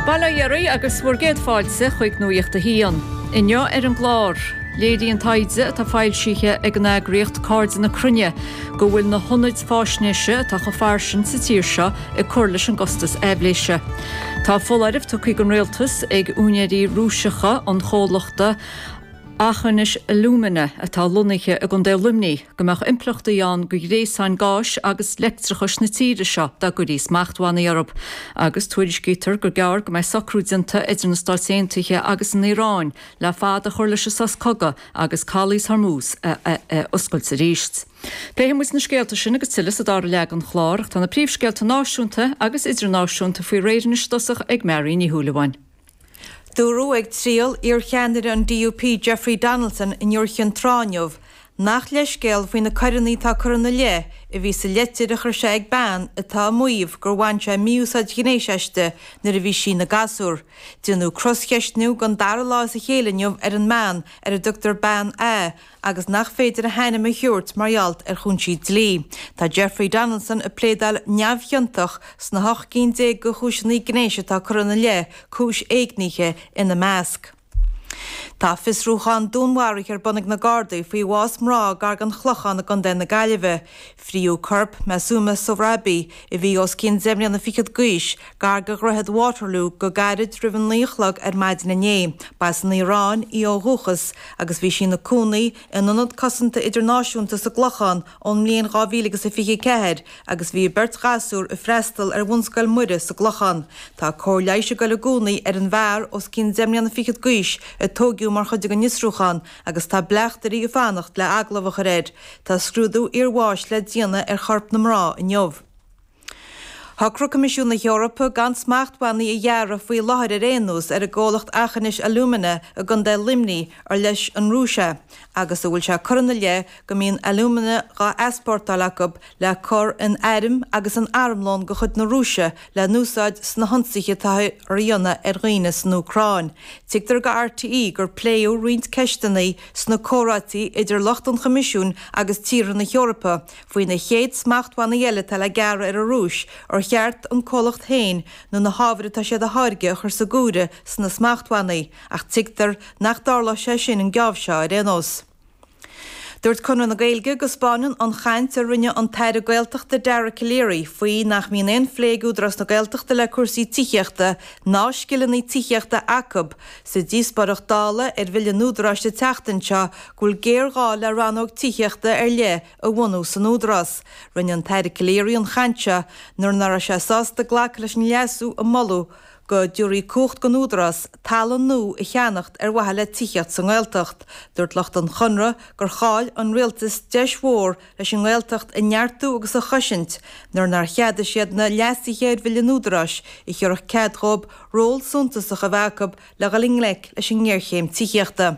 Bail ó Dhia oraibh agus bhur gcéad fáilte chuig Nuacht a hAon. Inniu ar an gclár, léiríonn taighde atá foilsithe ag an eagraíocht Cairde na Cruinne go bhfuil na hionaid fáisnéise atá chomh fairsing sa tír seo ag cur leis an gcostas aibhléise. Tá foláireamh tugtha don rialtas ag úinéirí Rúiseacha an chomhlachta Aughinish Alumina atá lonnaithe i gContae Luimnigh go mbeadh impleachtaí ann do ghréasáin gáis agus leictreachais na tíre seo dá gcuirí smachtbhannaí orthu. Agus tuairiscítear gur gearr go mbeidh socrú déanta idir na Stáit Aontaithe agus an Iaráin le fad a chur leis an sos cogaidh agus calaos Hormuz a oscailt arís. Pléifidh muid na scéalta sin agus tuilleadh sa dara leath den chlár ach tá na príomhscéalta náisiúnta agus idirnáisiúnta faoi réir anois i dtosach ag Mary Ní Shúilleabháin. Dúradh ag triail iarcheannaire an DUP Jeffrey Donaldson in Iúr Chinn Trá inniu nach leithscéal faoi na coireanna atá curtha ina leith a bhí sa leitir a chuir sé ag bean atá ag maíomh gur bhain sé mí-úsáid ghnéis aisti nuair a bhí sí ina gasúr. Déanadh croscheistniú don dara lá as a chéile inniu ar an mbean ar a dtugtar Bean A agus nach féidir a hainm a thabhairt mar gheall ar chúinsí dlí. Tá Jeffrey Donaldson ag pléadáil neamhchiontach sna 18 gcinn de chúiseanna gnéis atá curtha ina leith, cúis éignithe ina measc. Tá fiosrúchán dúnmharaithe ar bun ag na Gardaí faoi bhás mná gar don Chlochán i gContae na Gaillimhe. Fríodh corp Masuma Sohrabi, a bhí os cionn deich mbliana fichead d'aois, gar do Dhroichead Waterloo go gairid roimh a 9 a chlog ar maidin inné. Ba as an Iaráin í ó dhúchas agus bhí sí ina cónaí in Ionad Cosanta Idirnáisiúnta sa gClochán ón mbliain 2024 agus bhí a beirt ghasúr ag freastal ar Bhunscoil Muire sa gClochán. Tá cóir leighis ag dul i gcónaí ar an bhfear os cionn deich mbliana fichead d'aois a tóigeadh mar chuid den fhiosrúchán agus tá bleachtairí ag fanacht le agallamh a chur air. Tá scrúdú iarbháis le déanamh ar chorp na mná inniu. Shocraigh Coimisiún na hEorpa gan smachtbhannaí a ghearradh faoi láthair ar aon nós ar an gcomhlacht Aughinish Alumina i gContae Luimnigh ar leis an Rúis é agus a bhfuil sé curtha ina leith go mbíonn alúmana dhá easpórtáil acu le cur in airm agus in armlón de chuid na Rúise le n-úsáid sna hionsaithe atáthar a dhéanamh ar dhaoine san Úcráin. Tuigtear do RTÉ gur pléadh roinnt ceisteanna sna comhráití idir lucht an Choimisiúin agus tíortha na hEorpa Faoi na chéad smachtbhannaí eile atá le gearradh ar an Rúis, ar cheart an comhlacht féin nó na hábhair atá siad a tháirgeadh a chur sa gcomhaireamh sna smachtbhannaí, ach tuigtear nach dtarlóidh sé sin an geábh seo ar aon nós. Dúirt Conradh na Gaeilge go 'spáineann an chaint a rinne an tAire Gaeltachta Dara Calleary faoi nach mbíonn aon phlé ag Údarás na Gaeltachta le cúrsaí tithíochta ná scileanna tithíochta acu sa díospóireacht Dála ar Bhille an Údaráis an tseachtain seo go bhfuil géarghá le rannóg tithíochta ar leith a bhunú san Údarás. Rinne an tAire Calleary an chaint seo nuair nach raibh sé sásta glacadh leis an leasú a moladh go dtabharfaí cumhacht don Údarás talamh nua a cheannacht ar mhaithe le tithíocht sa nGaeltacht. Dúirt lucht an Chonradh gur chaill an Rialtas deis mhór leis an nGaeltacht a neartú agus a chosaint nuair nár cheadaigh siad na leasuithe ar Bhille an Údaráis a thabharfadh cead dhóibh ról suntasach a bheith acu le dhul i ngleic leis an ngéarchéim tithíochta.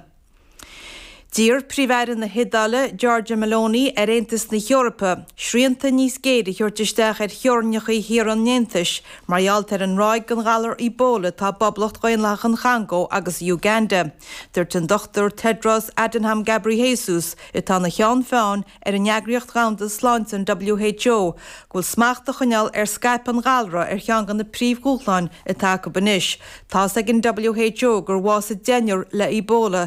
D'iarr Príomh-Aire na hIodáile, Giorgia Meloni, ar Aontas na hEorpa srianta níos géire a thabhairt isteach ar theorainneacha thíortha an Aontais mar gheall ar an ráig den ghalar Ebola atá i bPoblacht Dhaonlathach an Chongó agus Uganda. Dúirt an Dr Tedros Adhanom Ghebreyesus, atá ina cheann feadhain ar an Eagraíocht Dhomhanda Sláinte, an WHO, go bhfuil smacht a choinneáil ar scaipeadh an ghalra ar cheann de na príomhdhúshláin atá acu anois. Tá's ag an WHO gur bhásaigh deichniúr le Ebola.